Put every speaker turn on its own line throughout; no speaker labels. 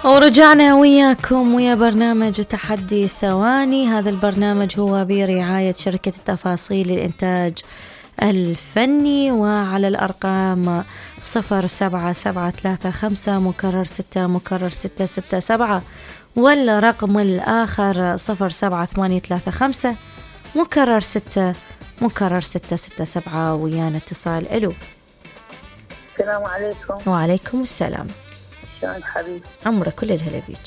ورجعنا وياكم ويا برنامج تحدي ثواني. هذا البرنامج هو برعاية شركة التفاصيل للإنتاج الفني، وعلى الأرقام 07735 مكرر 6 مكرر 667، ولا رقم الآخر 07835 مكرر 6 مكرر 667. ويانا اتصال. ألو.
السلام عليكم.
وعليكم السلام.
شلون حبيبي؟
عمرك كل الهلا بيك.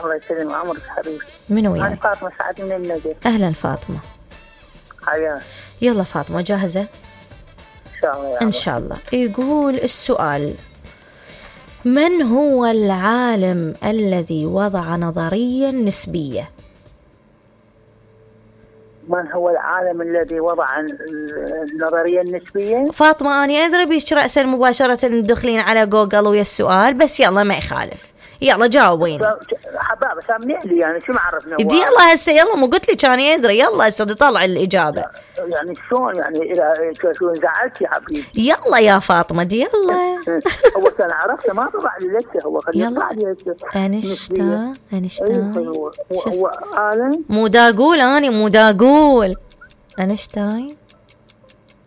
الله يسلم عمرك حبيبي.
من وياك؟
أنا فاطمة سعد من النجف.
أهلا فاطمة.
حياك.
يلا فاطمة جاهزة؟
إن شاء الله.
إن شاء الله. يقول السؤال: من هو العالم الذي وضع نظرية نسبية؟
من هو العالم الذي وضع النظرية النسبية؟
فاطمة أنا أدري بيش رأسا مباشرة تدخلين على جوجل ويا السؤال، بس يلا ما يخالف، يلا جاوبين.
حبابة سامني لي يعني شو ما عرفنا.
دي يلا هسه يلا مو قلت لك أنا أدري، يلا هسه طلع الإجابة.
يعني شلون يعني إذا شو زعلت يا حبيبي؟
يلا يا فاطمة دي يلا.
هو كان عرفته ما طلع لي لسه، هو خليه يطلع لي هسه.
أينشتاين.
هو عالم
مو دا أقول أنا مو دا أقول أينشتاين.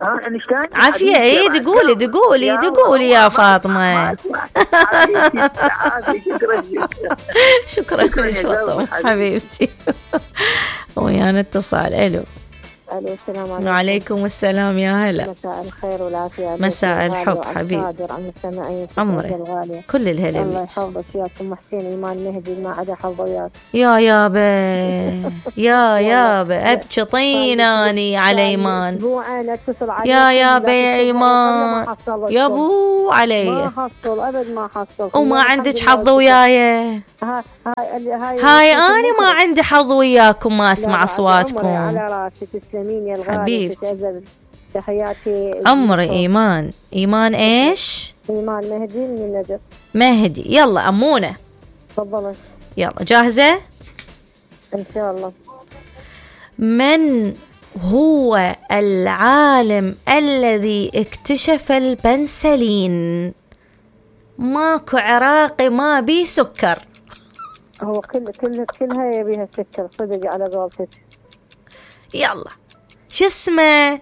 أينشتاين
عافية. ايه دقولي يا فاطمة. شكرا لك فاطمة حبيبتي. ويانا اتصال. ألو.
السلام عليكم.
وعليكم السلام يا هلا.
مساء الخير والعافية.
مساء الحب حبيبي. عمرك كل الهلا.
الله يحفظك يا ام حسين ايمان مهدي ما عدا حظ وياك.
يا يابا ابكي طيناني على ايمان.
اسبوعين اتصل عليك
يا يابا يا ايمان يا ابو علي.
ما حصل ابد ما حصل.
وما عندك حظ وياي. هاي انا ما عندي حظ وياكم، ما اسمع اصواتكم.
على راسي تسلمين يا الغالي
حبيبتي.
تحياتي.
عمري ايمان ايش؟
ايمان مهدي من النجف.
مهدي. يلا امونه
تفضلي.
يلا جاهزة؟
ان شاء الله.
من هو العالم الذي اكتشف البنسلين؟ ماكو عراقي ما بيه سكر.
هو كلها يبيها سكر صدق على قولتك.
يلا شو اسمه؟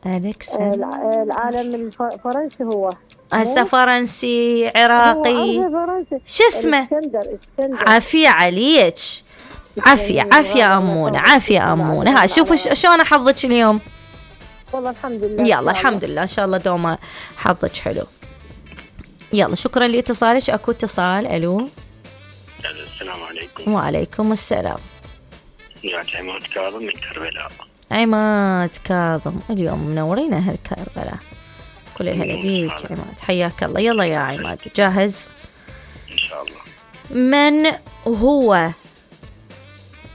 العالم الفرنسي هو
هسه فرنسي عراقي شو اسمه؟ عافية عليك. عافية أمونة ها شوفوا شلون حظك اليوم.
والله الحمد لله.
يلا الحمد لله إن شاء الله دوما حظك حلو. يلا شكرا لاتصالك. أكو اتصال. ألو.
السلام عليكم.
وعليكم السلام.
يا عماد كاظم من كربلاء.
عماد كاظم اليوم منورين أهل كربلاء. كل الهلا بيك عماد حياك الله. يلا يا عماد جاهز؟
إن شاء الله.
من هو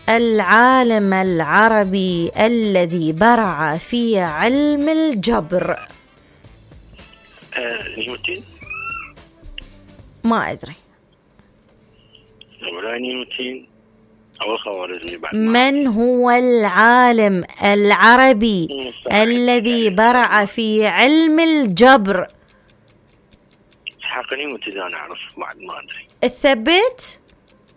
العالم العربي الذي برع في علم الجبر؟
نيوتن.
ما أدري.
ولا نيوتن أو الخوارزمي بعد.
من هو العالم العربي الذي برع في علم الجبر؟
حقني متزان أعرف بعد ما أدري.
الثبت؟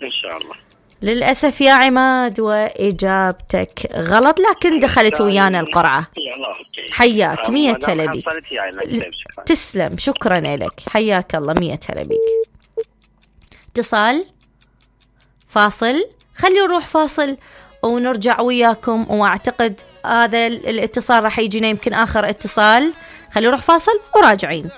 إن شاء الله.
للأسف يا عماد وإجابتك غلط، لكن دخلت ويانا القرعة. حياك 100 هلا بيك. تسلم شكرا لك حياك الله 100 هلا بيك. اتصال فاصل. خلينا نروح فاصل ونرجع وياكم، واعتقد هذا الاتصال راح يجينا يمكن آخر اتصال. خلينا نروح فاصل وراجعين.